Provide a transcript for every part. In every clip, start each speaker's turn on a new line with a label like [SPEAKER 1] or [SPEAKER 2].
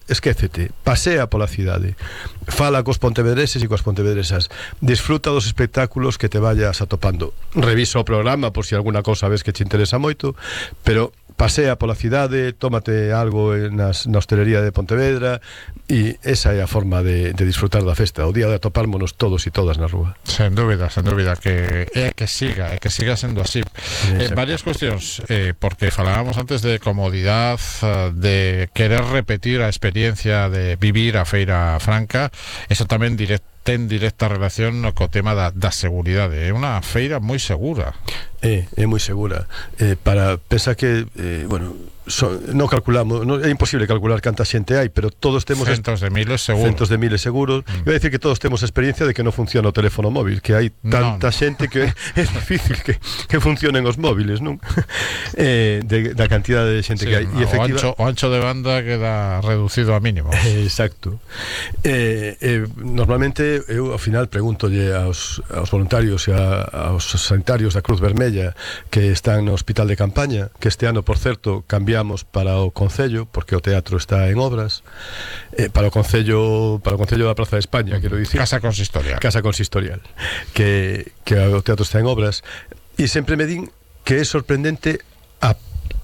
[SPEAKER 1] esquécete, pasea pola cidade, fala cos pontevedreses e coas pontevedresas, disfruta dos espectáculos que te vayas atopando, revisa o programa por si alguna cousa ves que te interesa moito, pero pasea pola cidade, tómate algo na hostelería de Pontevedra, e esa é a forma de disfrutar da festa, o día de atopármonos todos e todas na rúa.
[SPEAKER 2] Sen dúbida, que siga sendo así. Varias cuestións, porque falábamos antes de comodidade, de querer repetir a experiencia de vivir a Feira Franca, eso tamén ten directa relación co tema da seguridade. É unha feira moi segura.
[SPEAKER 1] É moi segura. Pensa que, non calculamos, é imposible calcular canta xente hai, pero todos temos
[SPEAKER 2] centos de miles seguros.
[SPEAKER 1] Iba a decir que todos temos experiencia de que non funciona o teléfono móvil, que hai tanta xente que é difícil que funcionen os móviles, non? Da cantidade de xente que hai.
[SPEAKER 2] O ancho de banda queda reducido a mínimo.
[SPEAKER 1] Exacto. Normalmente eu ao final pregúntolle aos voluntarios e aos sanitarios da Cruz Vermella que están no hospital de campaña, que este ano, por certo, cambiamos para o Concello, porque o teatro está en obras, para o Concello da Praza de España, quero dicir,
[SPEAKER 2] Casa Consistorial,
[SPEAKER 1] que o teatro está en obras, e sempre me din que é sorprendente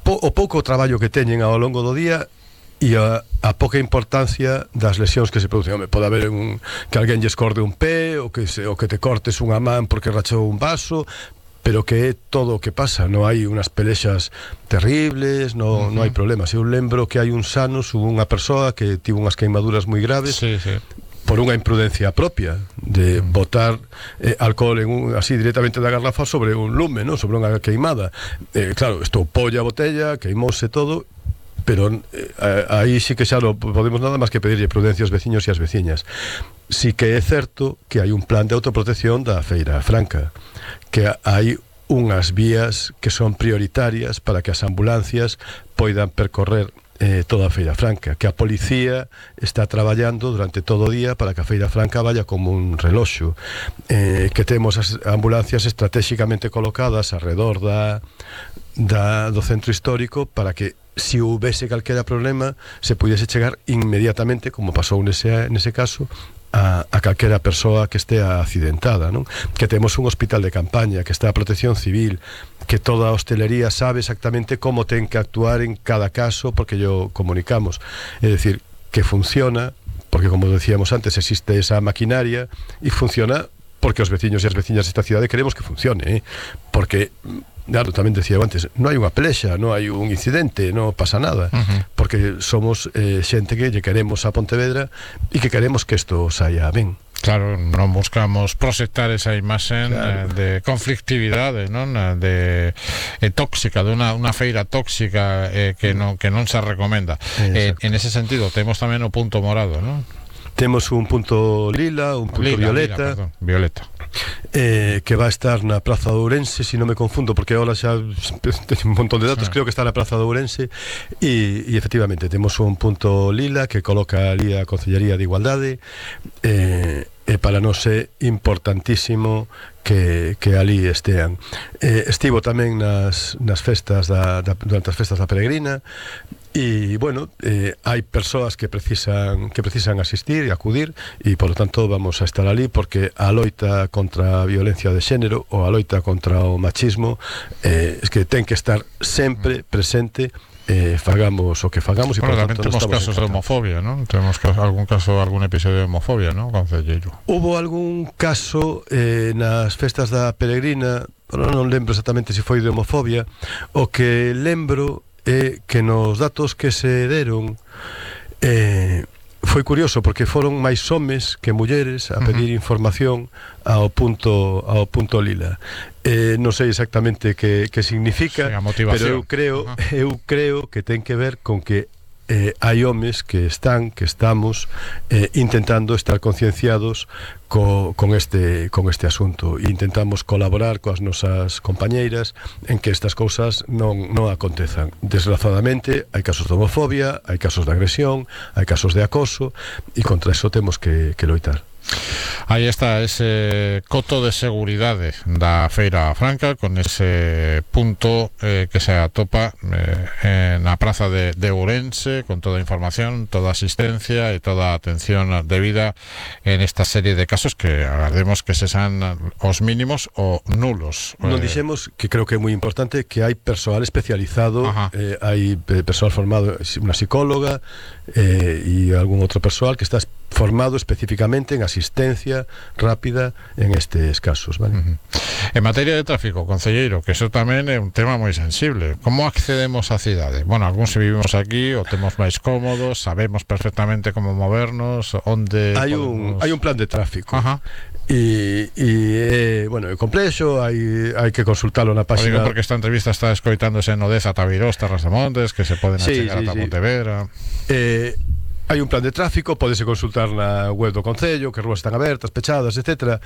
[SPEAKER 1] o pouco traballo que teñen ao longo do día e a pouca importancia das lesións que se producen. Pode haber que alguén lle escorde un pé, ou que te cortes unha man porque rachou un vaso, pero que é todo o que pasa, non hai unhas pelexas terribles, non hai problemas. Eu lembro que hai uns anos hubo unha persoa que tivo unhas queimaduras moi graves, por unha imprudencia propia de botar alcohol así directamente da garrafa sobre un lume, non? Sobre unha queimada. Claro, estopoulle a botella, queimouse todo, pero aí sí que xa non podemos nada máis que pedirlle prudencia aos veciños e as veciñas. Sí que é certo que hai un plan de autoprotección da Feira Franca, que hai unhas vías que son prioritarias para que as ambulancias poidan percorrer toda a Feira Franca, que a policía está traballando durante todo o día para que a Feira Franca vaya como un reloxo, que temos as ambulancias estratégicamente colocadas alrededor do centro histórico para que se houvese calquera problema se pudiese chegar inmediatamente, como pasou nese caso, a calquera persoa que estea accidentada, non? Que temos un hospital de campaña, que está a Protección Civil, que toda a hostelería sabe exactamente como ten que actuar en cada caso, porque yo comunicamos. É dicir, que funciona, porque como decíamos antes, existe esa maquinaria e funciona porque os veciños e as veciñas desta cidade queremos que funcione, porque claro, tamén decía antes, non hai unha pelexa, non hai un incidente, non pasa nada, porque somos xente que lle queremos a Pontevedra e que queremos que isto saia ben.
[SPEAKER 2] Claro, non buscamos proxectar esa imaxen de conflictividade, non? De tóxica, de unha feira tóxica que non se recomenda. En ese sentido, temos tamén o punto morado, non?
[SPEAKER 1] Temos un punto lila, un punto violeta, que va a estar na Praza de Ourense, se non me confundo, porque ahora xa teño un montón de datos, creo que está na Praza de Ourense, e efectivamente temos un punto lila que coloca ali a Concellería de Igualdade, e para nós é importantísimo que ali estean. Estivo tamén nas festas durante as festas da Peregrina, e bueno, hai persoas que precisan asistir e acudir, e polo tanto vamos a estar ali, porque a loita contra a violencia de xénero ou a loita contra o machismo que ten que estar sempre presente, fagamos o que fagamos, e por tanto
[SPEAKER 2] temos casos de homofobia, non? Temos algún episodio de homofobia, non, concelleiro?
[SPEAKER 1] Hubo algún caso nas festas da Peregrina, non lembro exactamente se foi de homofobia. O que lembro é que nos datos que se deron foi curioso, porque foron máis homes que mulleres a pedir información ao punto lila. Non sei exactamente que significa, pero eu creo que ten que ver con que hai homes que estamos intentando estar concienciados con este asunto, e intentamos colaborar coas nosas compañeiras en que estas cousas non acontezan. Desgraciadamente hai casos de homofobia, hai casos de agresión, hai casos de acoso, e contra eso temos que loitar.
[SPEAKER 2] Aí está ese coto de seguridade da Feira Franca, con ese punto que se atopa na praza de Ourense, con toda a información, toda a asistencia e toda a atención debida en esta serie de casos que agardemos que se sean os mínimos ou nulos.
[SPEAKER 1] Non dixemos, que creo que é moi importante, que hai persoal especializado, hai persoal formado, unha psicóloga e algún outro persoal que está formado especificamente en asistencia rápida en estes casos, vale?
[SPEAKER 2] En materia de tráfico, concelleiro, que eso tamén é un tema moi sensible. Como accedemos á cidade? Bueno, algúns vivimos aquí, o temos máis cómodos, sabemos perfectamente como movernos, onde
[SPEAKER 1] hai un plan de tráfico. E bueno, é complexo, hai que consultalo na página.
[SPEAKER 2] Digo porque esta entrevista está escoitándose en Odeza, Tabirós, Terras de Montes, que se poden achegar ata Pontevedra.
[SPEAKER 1] Hai un plan de tráfico, pódese consultar na web do Concello, que rúas están abertas, pechadas, etcétera.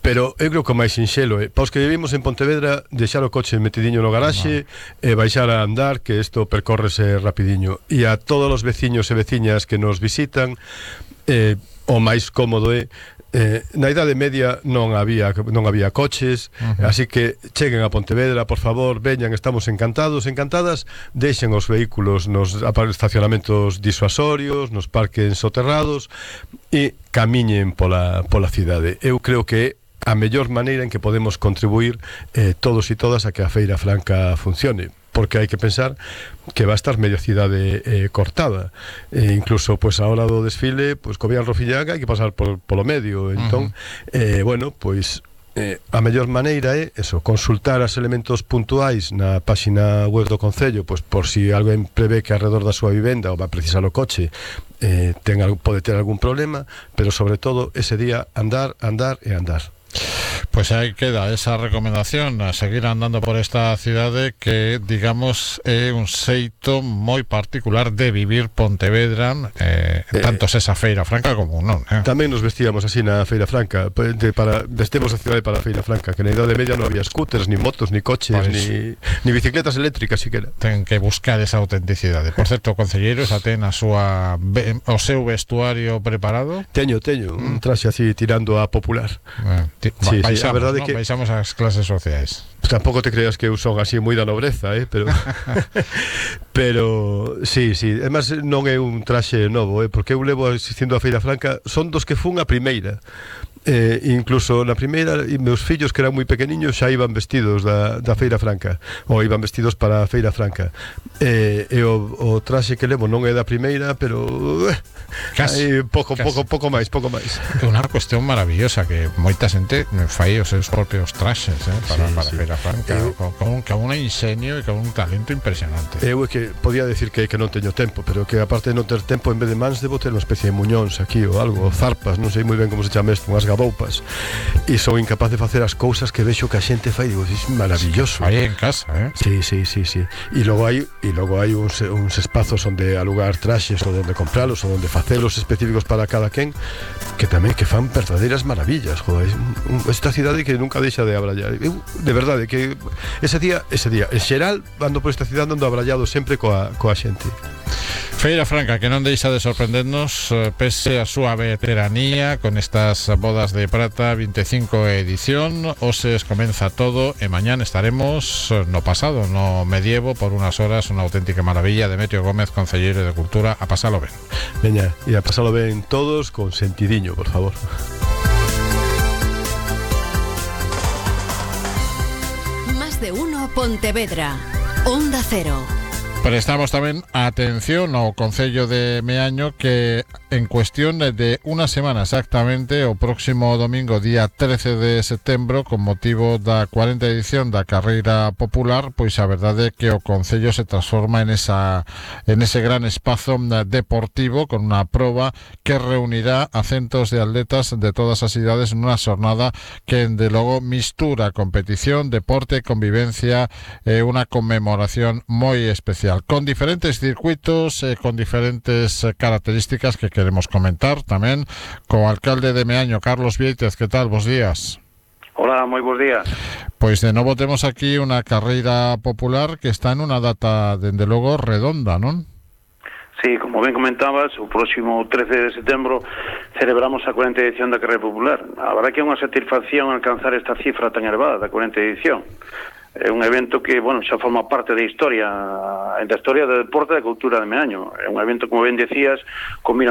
[SPEAKER 1] Pero eu creo que o máis sinxelo é, para os que vivimos en Pontevedra, deixar o coche metidiño no garaxe e baixar a andar, que isto percórrese rapidiño. E a todos os veciños e veciñas que nos visitan, o máis cómodo é, na Idade Media non había coches, así que cheguen a Pontevedra, por favor, veñan, estamos encantados, encantadas, deixen os vehículos nos estacionamentos disuasorios, nos parques soterrados e camiñen pola cidade. Eu creo que é a mellor maneira en que podemos contribuir todos e todas a que a Feira Franca funcione, porque hai que pensar que va a estar media cidade cortada, incluso pues a hora do desfile, pues co Vían Rofillaga hai que pasar polo medio, entón bueno, pues a mellor maneira é eso, consultar os elementos puntuais na páxina web do Concello, pues por si alguén prevé que alrededor da súa vivenda ou va a precisar o coche pode ter algún problema, pero sobre todo ese día andar e andar.
[SPEAKER 2] Pues aí queda esa recomendación, a seguir andando por esta cidade que, digamos, é un xeito moi particular de vivir Pontevedra, tanto esa Feira Franca como non.
[SPEAKER 1] Tamén nos vestíamos así na Feira Franca, vestemos a cidade para a Feira Franca, que na Idade Media non había scooters, ni motos, ni coches, ni bicicletas eléctricas siquera.
[SPEAKER 2] Ten que buscar esa autenticidade. Por certo, concelleiro, xa ten o seu vestuario preparado?
[SPEAKER 1] Teño un traxe así tirando a popular.
[SPEAKER 2] Sí, a verdade, ¿no? Que baixamos as clases sociais.
[SPEAKER 1] Tampouco te creas que eu son así moi da nobreza, pero pero sí, además non é un traxe novo, porque eu levo asistindo a Feira Franca, son dos que fun a primeira. Incluso na primeira, e meus fillos que eran moi pequeniños xa iban vestidos da Feira Franca, ou iban vestidos para a Feira Franca, e o traxe que levo non é da primeira, pero pouco máis.
[SPEAKER 2] É unha cuestión maravillosa que moita xente fai os seus propios traxes para Feira Franca, con un ingenio e con un talento impresionante.
[SPEAKER 1] Eu é que podía decir que non teño tempo, pero que aparte de non ter tempo, en vez de mans debo ter unha especie de muñóns aquí ou algo, zarpas, non sei moi ben como se chama isto, unhas gaboupas, e son incapaz de facer as cousas que vexo que a xente fai, digo, é maravilloso.
[SPEAKER 2] Aí en casa,
[SPEAKER 1] Sí. E logo hai uns espazos onde alugar traxes, ou onde compralos, ou onde facelos específicos para cada quen, que tamén que fan verdadeiras maravillas. Joder, esta cidade que nunca deixa de abrallar. Eu, de verdade, que ese día, en xeral, ando por esta cidade ando abrallado sempre coa xente.
[SPEAKER 2] Feira Franca, que non deixa de sorprendernos pese a súa veteranía con estas bodas de prata, 25 edición. Hoxe comeza todo e mañán estaremos no pasado, no medievo, por unas horas, unha auténtica maravilla. Demetrio Gómez, concelleiro de Cultura, a pasalo ben.
[SPEAKER 1] Veña, e a pasalo ben todos con sentidiño, por favor.
[SPEAKER 3] Más de uno Pontevedra, Onda Cero.
[SPEAKER 2] Prestamos tamén atención ao Concello de Meaño, que en cuestión de unha semana exactamente, o próximo domingo, día 13 de setembro, con motivo da 40 edición da Carreira Popular, pois a verdade é que o Concello se transforma en ese gran espazo deportivo, con unha proba que reunirá a centos de atletas de todas as cidades nunha xornada que, de logo, mistura competición, deporte, convivencia e unha conmemoración moi especial, con diferentes circuitos, con diferentes características que queremos comentar tamén co alcalde de Meaño, Carlos Viéitez. Que tal? Bos días.
[SPEAKER 4] Hola, moi bons días.
[SPEAKER 2] Pois de novo temos aquí unha carreira popular que está en unha data, dende logo, redonda, non?
[SPEAKER 4] Sí, como ben comentabas, o próximo 13 de setembro celebramos a 40ª edición da Carreira Popular. A verdade que é unha satisfacción alcanzar esta cifra tan elevada da 40ª edición. É un evento que, bueno, xa forma parte da historia do deporte e da cultura de Meaño. É un evento, como ben decías, combina